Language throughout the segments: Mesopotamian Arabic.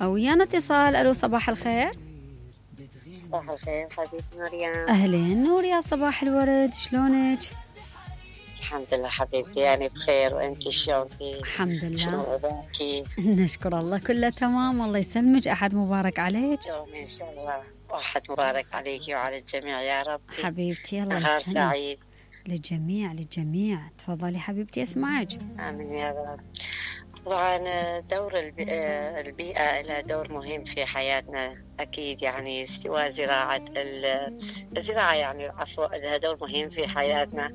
ويانا اتصال. الو صباح الخير. صباح الخير حبيبتي مريم. اهلين نور يا صباح الورد، شلونك؟ الحمد لله حبيبتي، يعني بخير، وانتي شلونك؟ الحمد لله. شلون وضعك؟ نشكر الله كله تمام، الله يسلمك. احد مبارك عليك. يوم ان شاء الله واحد مبارك عليكي وعلى الجميع يا رب. حبيبتي الله نهار يسلمك. سعيد للجميع للجميع. تفضلي حبيبتي اسمعك. امين يا رب. طبعا دور البيئة لها دور مهم في حياتنا أكيد، يعني سواء الزراعة يعني عفوا لها دور مهم في حياتنا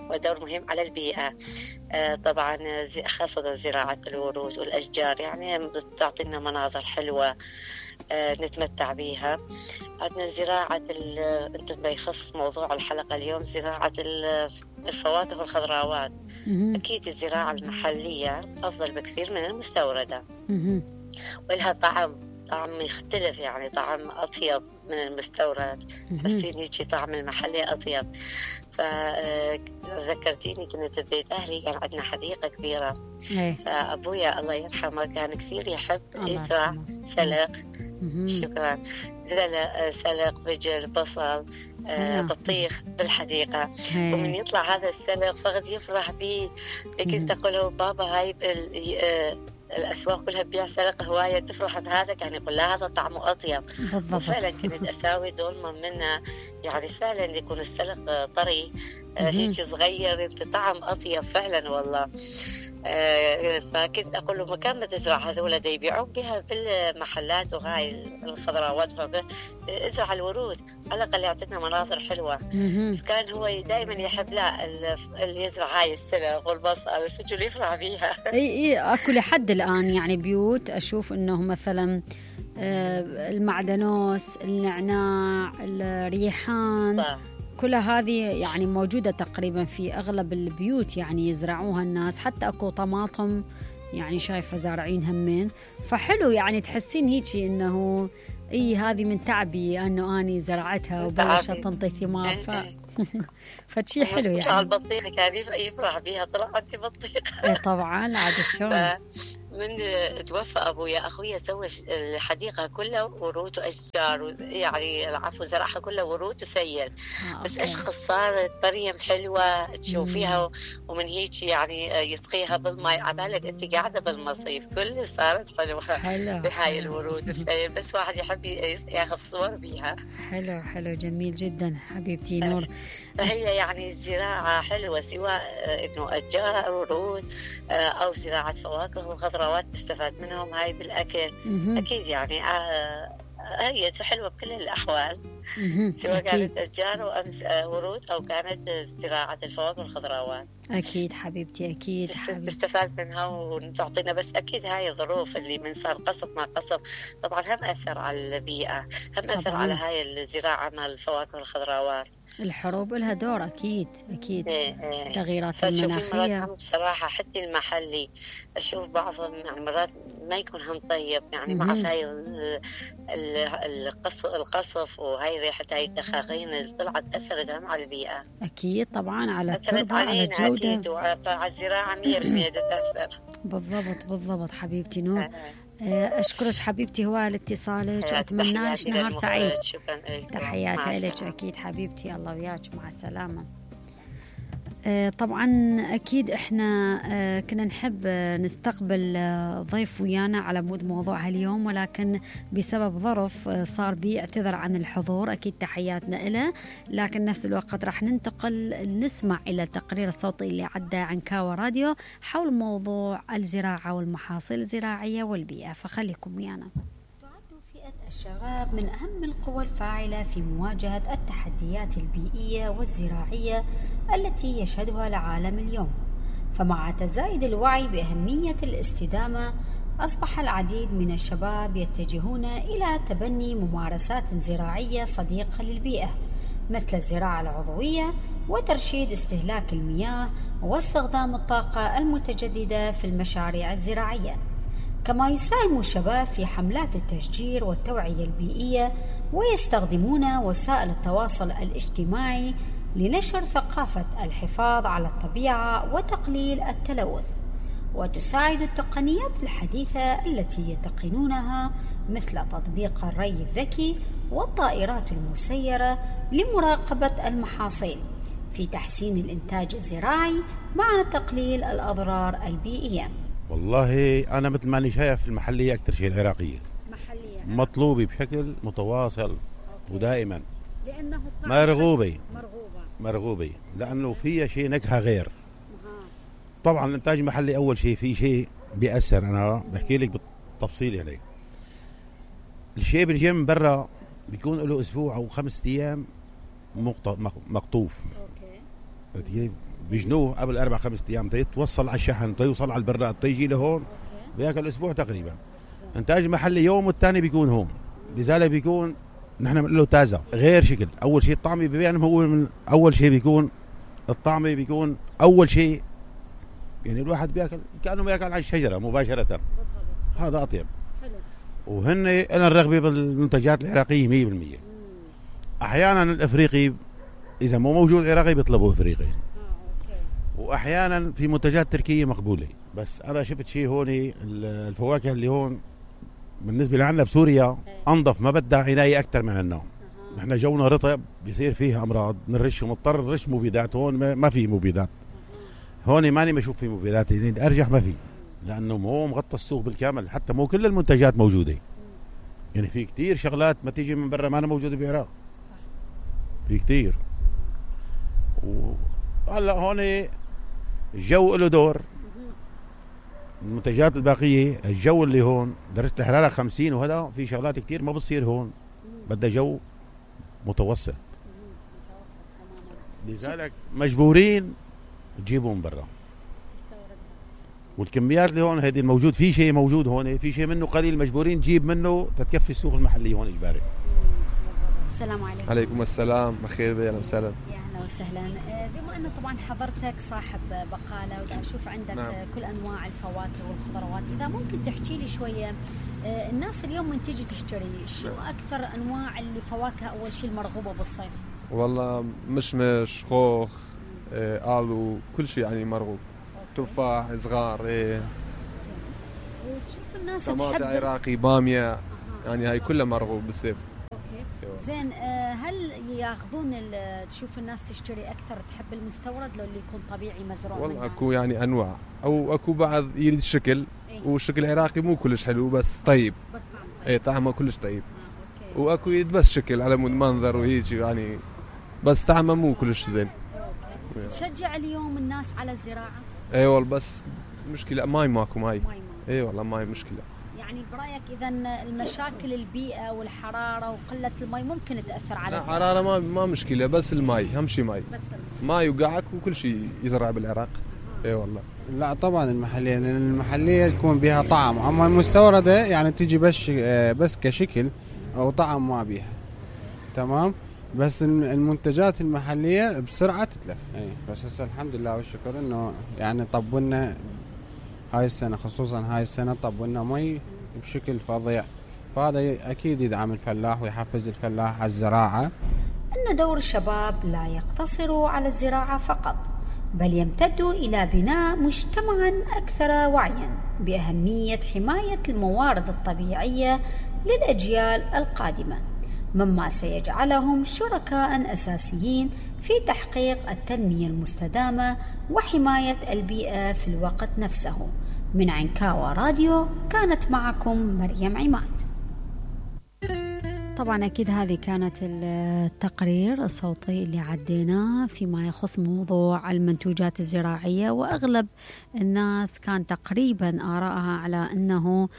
ودور مهم على البيئة. طبعا خاصة زراعة الورود والأشجار، يعني تعطينا مناظر حلوة نتمتع بيها. عندنا زراعة انتم بيخص موضوع الحلقة اليوم زراعة الفواكه والخضروات. أكيد الزراعة المحلية أفضل بكثير من المستوردة، ولها طعم يختلف، يعني طعم أطيب من المستورد. تحسين هيك طعم المحلي أطيب. فذكرتيني كنت ببيت أهلي كان عندنا حديقة كبيرة، فأبويا الله يرحمه كان كثير يحب يزرع سلق. شكرا. سلق، فجل، بصل، بطيخ بالحديقة. ومن يطلع هذا السلق فقد يفرح بيه. كنت أقول له بابا هاي الأسواق كلها بيع سلق، هواية تفرح بهذا. كان يقول لا هذا طعمه أطيب. وفعلا كنت أساوي دولمة منه، يعني فعلا يكون السلق طري هيك صغير طعم أطيب فعلا والله. فكنت أقول له مكان ما تزرع هذولا دي يبيعون بها بالمحلات وهاي الخضروات، ازرع الورود على الأقل يعطينا مناظر حلوة. فكان هو دائما يحب لا اللي يزرع هاي السلق والبصل الفجل يفرح بيها. اي اكو لحد الآن يعني بيوت أشوف إنه مثلا المعدنوس، النعناع، الريحان، كل هذه يعني موجودة تقريبا في أغلب البيوت، يعني يزرعوها الناس. حتى أكو طماطم يعني شايفة زارعين همين، فحلو يعني تحسين هيجي إنه هذه من تعبي أنه أني زرعتها وبلشت تنطي ثمار. فشي حلو يعني. البطيخة كان يفرح بيها، طلع عندي بطيخة. طبعا عاد شلون. من توفى أبويا أخويا سوى الحديقة كلها ورود وأشجار، يعني العفو زرعها كلها ورود وسيل. بس أشخص صارت مريم حلوة تشوفيها، ومن هيك يعني يسقيها بالماء عبالك أنت قاعدة بالمصيف، كل صارت حلوة بهاي الورود والسيل. بس واحد يحب ياخذ صور بيها. حلو جميل جدا حبيبتي نور. فهي يعني الزراعة حلوة، سواء إنه أشجار ورود أو زراعة فواكه وخضروات تستفاد منهم هاي بالأكل. أكيد يعني هي حلوة بكل الأحوال، سواء كانت أشجار وأمس ورود أو كانت زراعة الفواكه والخضروات. أكيد حبيبتي أكيد تستفاد منها وتعطينا. بس أكيد هاي الظروف اللي من صار قصف ما قصف طبعا هم أثر على البيئة، هم أثر على هاي الزراعة مع الفواكه والخضروات. الحروب لها دور أكيد تغييرات المناخية. مرات بصراحة حتى المحلي أشوف بعضهم يعني مرات ما يكون هم طيب، يعني مع هاي القصف وهاي ريحة هاي الدخاخين اللي طلعت أثرت هم على البيئة. أكيد طبعا على التربة على الجودة أكيد، وعلى الزراعة 100% تتأثر. بالضبط حبيبتي نور. أشكرك حبيبتي هو لاتصالك، وأتمنى لك نهار سعيد. تحياتي لك أكيد حبيبتي، الله وياك، مع السلامة. طبعا أكيد إحنا كنا نحب نستقبل ضيف ويانا على مود موضوع اليوم، ولكن بسبب ظرف صار بيعتذر عن الحضور. أكيد تحياتنا إله، لكن نفس الوقت راح ننتقل نسمع إلى التقرير الصوتي اللي عدى عن كاوا راديو حول موضوع الزراعة والمحاصيل الزراعية والبيئة، فخليكم ويانا. الشباب من أهم القوى الفاعلة في مواجهة التحديات البيئية والزراعية التي يشهدها العالم اليوم، فمع تزايد الوعي بأهمية الاستدامة أصبح العديد من الشباب يتجهون إلى تبني ممارسات زراعية صديقة للبيئة، مثل الزراعة العضوية وترشيد استهلاك المياه واستخدام الطاقة المتجددة في المشاريع الزراعية. كما يساهم الشباب في حملات التشجير والتوعية البيئية، ويستخدمون وسائل التواصل الاجتماعي لنشر ثقافة الحفاظ على الطبيعة وتقليل التلوث. وتساعد التقنيات الحديثة التي يتقنونها مثل تطبيق الري الذكي والطائرات المسيرة لمراقبة المحاصيل في تحسين الإنتاج الزراعي مع تقليل الأضرار البيئية. والله أنا مثل ما أنا شايف المحلية أكثر شيء العراقية مطلوبة بشكل متواصل ودائما، لأنه مرغوبة لأنه فيها شيء نكهة غير. طبعا الإنتاج المحلي أول شيء في شيء بيأثر، أنا بحكي لك بالتفصيل عليه. الشيء بيجي من برا بيكون له أسبوع أو 5 أيام مقطوف، بيجنوه قبل 4-5 أيام يتوصل على الشحن، يوصل على البراد، يجي لهون بياكل أسبوع تقريبا. إنتاج محلي يوم والثاني بيكون هون، لذلك بيكون نحن بنقول له تازة غير شكل. أول شيء الطعم بيبين هو من أول شيء بيكون الطعم بيكون أول شيء، يعني الواحد بياكل كأنه بياكل على الشجرة مباشرة، هذا أطيب. وهن أنا الرغبة بالمنتجات العراقية 100%. أحيانا الأفريقي إذا مو موجود عراقي بيطلبوا أفريقي، وأحيانا في منتجات تركية مقبولة. بس أنا شفت شيء هون، الفواكه اللي هون بالنسبة لعنا بسوريا أنظف، ما بدها عناية أكثر من عنا. نحن جونا رطب بيصير فيه أمراض، نرش ومضطر نرش مبيدات. هون ما في مبيدات، هون ماني بشوف في مبيدات، يعني أرجح ما في، لأنه مو مغطى السوق بالكامل. حتى مو كل المنتجات موجودة، يعني في كتير شغلات ما تيجي من برا ما أنا موجودة بالعراق، في كتير. وهلا هون الجو له دور. المنتجات الباقية الجو اللي هون درجة الحرارة 50 وهذا في شغلات كتير ما بتصير هون، بدها جو متوسط. لذلك مجبورين تجيبوا من برا. والكميات اللي هون هيدي الموجود، في شيء موجود هون، في شيء منه قليل مجبورين نجيب منه تتكفي السوق المحلي هون إجباري. السلام عليكم. عليكم السلام، بخير، اهلا وسهلا. يا اهلا وسهلا. بما انه طبعا حضرتك صاحب بقاله ودا اشوف عندك نعم. كل انواع الفواكه والخضروات، اذا ممكن تحكي لي شويه الناس اليوم من تيجي تشتري شو اكثر انواع الفواكه اول شيء المرغوبه بالصيف؟ والله مشمش، خوخ، آلو، كل شيء يعني مرغوب. تفاح صغار، وتشوف الناس طماطم عراقي، باميه، يعني هاي كلها مرغوب بالصيف. زين، هل ياخذون تشوف الناس تشتري اكثر تحب المستورد لو اللي يكون طبيعي مزروع؟ والله اكو يعني انواع، او اكو بعض يريد الشكل، والشكل العراقي مو كلش حلو بس طيب، بس طعمه كلش طيب. واكو يريد بس شكل على مود منظر وهيك يعني، بس طعمه مو كلش زين. تشجع اليوم الناس على الزراعه؟ اي والله، بس مشكله ماي ماكو ماي. اي والله ماي مشكله. يعني برايك اذا المشاكل البيئه والحراره وقله الماء ممكن تاثر على الزراعه؟ الحراره ما مشكله، بس الماي اهم شيء. ماي وقعك وكل شيء يزرع بالعراق. اي والله. لا طبعا المحليه، لان المحليه تكون بها طعم، اما المستورده يعني تجي بس كشكل او طعم ما بيها. تمام. بس المنتجات المحليه بسرعه تتلف. بس هسه الحمد لله والشكر انه يعني طبلنا هاي السنه، خصوصا هاي السنه طبلنا مي بشكل فظيع، فهذا اكيد يدعم الفلاح ويحفز الفلاح على الزراعه. ان دور الشباب لا يقتصر على الزراعه فقط، بل يمتد الى بناء مجتمعا اكثر وعيا باهميه حمايه الموارد الطبيعيه للاجيال القادمه، مما سيجعلهم شركاء اساسيين في تحقيق التنميه المستدامه وحمايه البيئه في الوقت نفسه. من عنكاوى راديو كانت معكم مريم عماد. طبعا أكيد هذه كانت التقرير الصوتي اللي عديناه فيما يخص موضوع المنتوجات الزراعية، وأغلب الناس كان تقريبا آرائها على أنه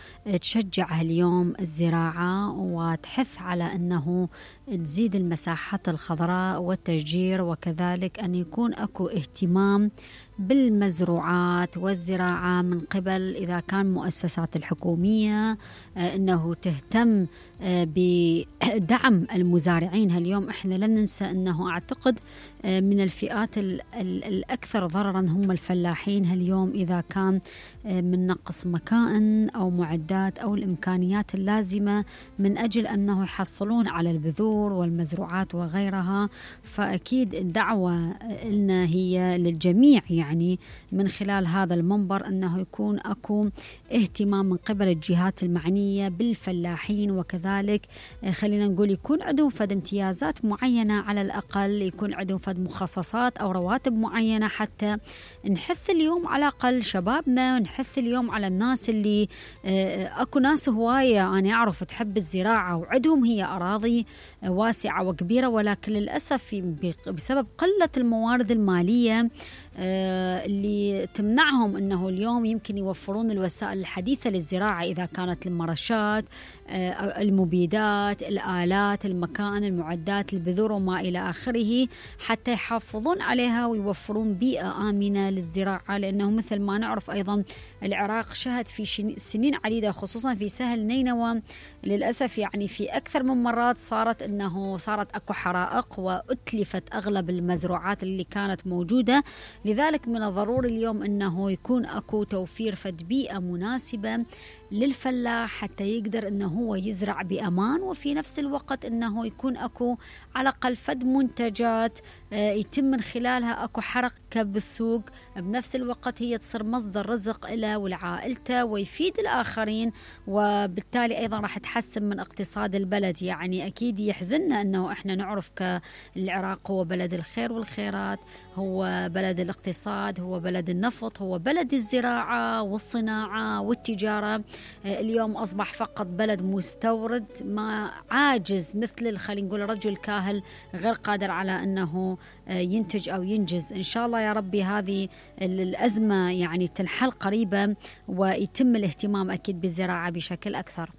تشجع اليوم الزراعة وتحث على أنه تزيد المساحات الخضراء والتشجير، وكذلك أن يكون أكو اهتمام بالمزروعات والزراعة من قبل إذا كان مؤسسات الحكومية أنه تهتم بدعم المزارعين. هاليوم إحنا لن ننسى أنه أعتقد من الفئات الأكثر ضررا هم الفلاحين اليوم، إذا كان من نقص مكائن أو معدات أو الإمكانيات اللازمة من أجل أنه يحصلون على البذور والمزروعات وغيرها. فأكيد الدعوة لنا هي للجميع، يعني من خلال هذا المنبر أنه يكون أكو اهتمام من قبل الجهات المعنية بالفلاحين، وكذلك خلينا نقول يكون عندهم فد امتيازات معينة، على الأقل يكون عندهم فد مخصصات أو رواتب معينة، حتى نحث اليوم على الأقل شبابنا، نحث اليوم على الناس اللي أكو ناس هواية أنا أعرف تحب الزراعة وعندهم هي أراضي واسعة وكبيرة، ولكن للأسف بسبب قلة الموارد المالية اللي تمنعهم أنه اليوم يمكن يوفرون الوسائل الحديثة للزراعة، إذا كانت المرشات، المبيدات، الآلات، المكان، المعدات، البذور وما إلى آخره، حتى يحافظون عليها ويوفرون بيئة آمنة للزراعة. لأنه مثل ما نعرف أيضا العراق شهد في سنين عديدة خصوصا في سهل نينوى للأسف يعني في أكثر من مرات صارت أكو حرائق وأتلفت أغلب المزروعات اللي كانت موجودة. لذلك من الضروري اليوم أنه يكون أكو توفير فد بيئة مناسبة للفلاح حتى يقدر أنه هو يزرع بأمان، وفي نفس الوقت أنه يكون أكو على الأقل فد منتجات يتم من خلالها أكو حركة بالسوق، بنفس الوقت هي تصير مصدر رزق له ولعائلته ويفيد الآخرين، وبالتالي أيضا راح تحسن من اقتصاد البلد. يعني أكيد يحزننا أنه إحنا نعرف كالعراق هو بلد الخير والخيرات، هو بلد الاقتصاد، هو بلد النفط، هو بلد الزراعة والصناعة والتجارة. اليوم أصبح فقط بلد مستورد، ما عاجز مثل خلينا نقول رجل كاهل غير قادر على أنه ينتج أو ينجز. إن شاء الله يا ربي هذه الأزمة يعني تنحل قريبا ويتم الاهتمام أكيد بالزراعة بشكل أكثر.